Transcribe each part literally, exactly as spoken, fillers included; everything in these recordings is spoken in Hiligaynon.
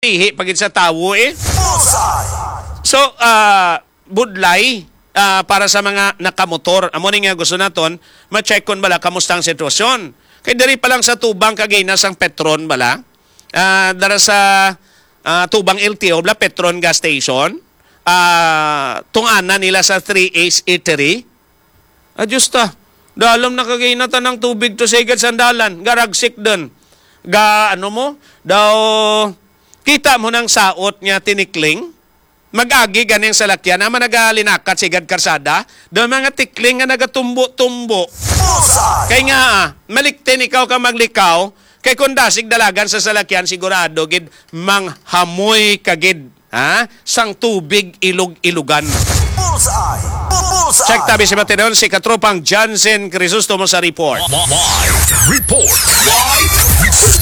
ihi pa gid sa tawo, eh. Bullseye! So, ah, budlay, ah, para sa mga nakamotor. Amo ni nga gusto naton, ma-check kon bala kamusta ang sitwasyon. Kay diri pa lang sa tubang kagina sang Petron bala, ah, dara sa, ah, tubang L T O bala, Petron gas station, ah, tungana nila sa Three Ace Eatery. Ah, Diyos ta. Dalom na kagina tanang tubig to sa igad sandalan. Garagsik dun. Ga, ano mo? Daw, kita mo nang saot nga tinikling. Mag-agi ganing salakyan. Ama nagalinakat sa igad karsada. Daw mga tikling nga nagatumbo-tumbo. Bullseye! Kay nga, ah, maliktin ikaw ka maglikaw. Kay kung dasig dalagan sa salakyan, sigurado gid manghamoy ka gid, ha? Sang tubig ilog-ilogan. Bullseye! Bullseye! Check tabi si Matinon, si Katropang Jansen Crisostomo sa report. Live report. Live report.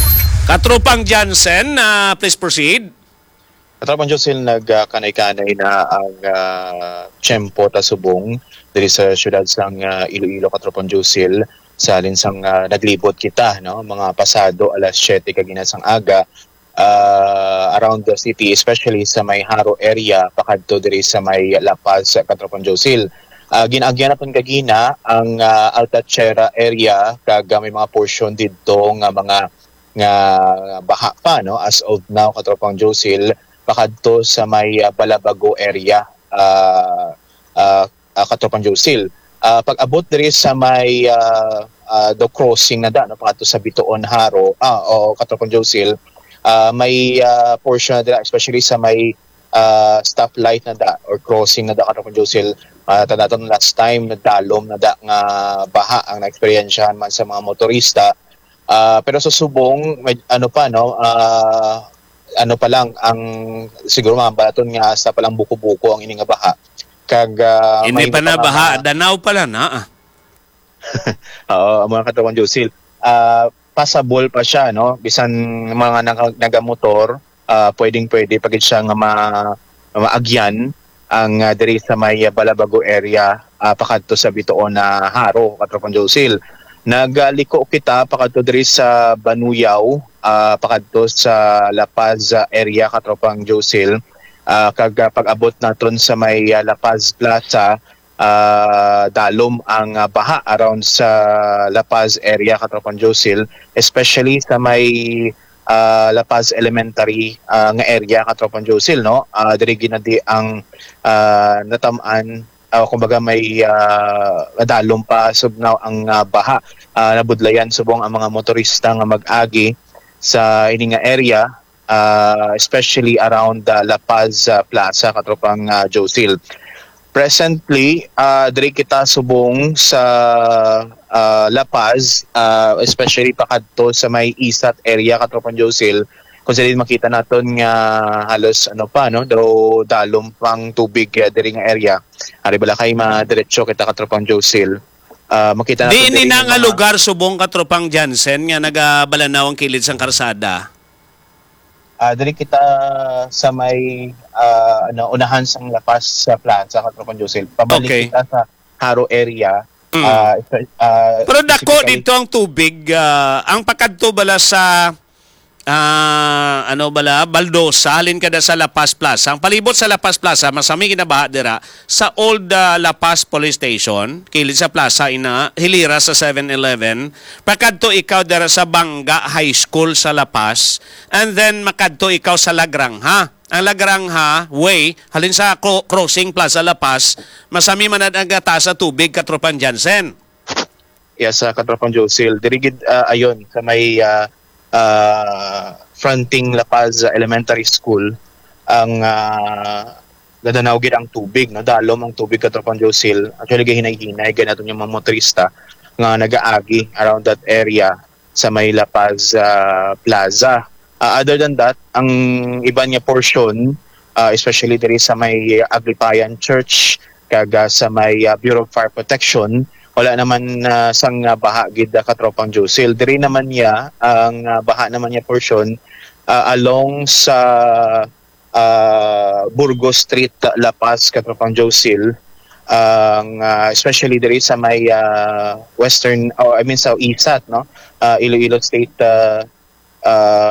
Katropang Jansen, ah, please proceed. Katropang Josil, nagkanay-kanay na ang, ah, tiyempo ta subong diri sa siyudad sang, ah, Iloilo, Katropang Josil. Sa halin sang, ah, naglibot kita, no, mga pasado alas siyete kagina sang aga, ah, around the city, especially sa may Jaro area, pakadto diri sa may La Paz, Katropang Josil. Ah, gin-agyan naton kagina ang, ah, Alta Tierra area, kag, ah, may mga portion didto nga mga, nga baha pa, no, as of now, Katropang Josil, pakadto sa may, ah, Balabago area, ah, ah, ah, Katropang Josil. Ah, pag-abot diri sa may, ah, ah, do crossing na da, no, pakadto sa Bitoon Jaro, ah, o Katropang Josil, ah, may, ah, portion na dira, especially sa may, ah, stoplight na da or crossing na da, Katropang Josil. Ah, tanda naton last time, nagdalom na da nga baha ang naeksperyensyahan man sa mga motorista. Ah, pero sa subong, med-, ano pa, no, ah, ano pa lang, ang siguro mahambal naton nga hasta pa lang buko-buko ang ini nga baha. Kag, ah, Ini may pa iba na pa nga baha, mga Danao pa lang, ah. Oo, ang mga Katropang Josil. Ah, passable pa siya, no? Bisan mga naka-, nagamotor, ah, pwedeng-pwede pa gid siya nga ma-, maagyan ang, ah, diri sa may, ah, Balabago area, ah, pakadto sa Bitoon na Jaro, Katropang Josil. Nagaliko kita pakadto diri sa Banuyaw, ah, pakadto sa La Paz, ah, area, Katropang Josil. Ah, kag, ah, pag-abot naton sa may, ah, La Paz Plaza, ah, dalom ang, ah, baha around sa La Paz area, Katropang Josil, especially sa may, ah, La Paz Elementary, ah, nga area, Katropang Josil, no? Ah, diri ginadi ang, ah, natamaan, ah, kumbaga may, ah, nadalom pa subong ang, ah, baha. Ah, nabudlayan subong ang mga motorista nga mag-agi sa ini nga area, ah, especially around the La Paz, ah, Plaza, Katropang, ah, Josil. Presently, ah, diri kita subong sa, ah, La Paz, ah, especially pakadto sa may Isat area, Katropang Josil, kung sa diin makita naton nga halos, ano pa, no, daw dalom pang tubig, ah, diri nga area. Ari bala kay madiretso kita, Katropang Josil. Ah, makita naton Di ini diri na nga nga mga lugar subong, Katropang Jansen, nga nagabalanaw ang kilid sang karsada. Ah, diri kita sa may, ah, ano, unahan sang La Paz sa Plaza, Katropang Josil. Pabalik Okay. kita sa Jaro area. Mm. Ah, espe-, ah, Pero dako specifically dito ang tubig, ah, ang pakadto bala sa, ah, ano bala, Baldosa, halin kada sa La Paz Plaza. Ang palibot sa La Paz Plaza, masami ginabaha dira sa old, ah, La Paz Police Station, kilid sa plaza ina, hilira sa Seven Eleven. Pakadto ikaw dira sa Banga High School sa La Paz, and then makadto ikaw sa La Granja. Ang La Granja Way, halin sa cro-, crossing Plaza La Paz, masami man ang gata sa tubig, Katropang Jansen. Yes, ah, Katropang Josil. Diri gid, ah, ayon, sa may, ah, ah, fronting La Paz Elementary School, ang, ah, nadanaw gid ang tubig, no? Dalom ang tubig, Katropang Josil. Actually, gahinay-hinay, ganaton yung mga motorista nga nagaagi around that area sa may La Paz, ah, Plaza. Ah, other than that, ang iban nga portion, ah, especially diri sa may Aglipayan Church, kag, ah, sa may, ah, Bureau of Fire Protection, wala naman, ah, sang, ah, baha gid, ah, Katropang Josil. Diri naman niya, ang, ah, baha naman niya portion, ah, along sa, ah, Burgos Street, La Paz, Katropang Josil. Ang, ah, especially diri sa may, ah, western, oh, I mean, sa Isat, no? Ah, Iloilo State, ah, ah,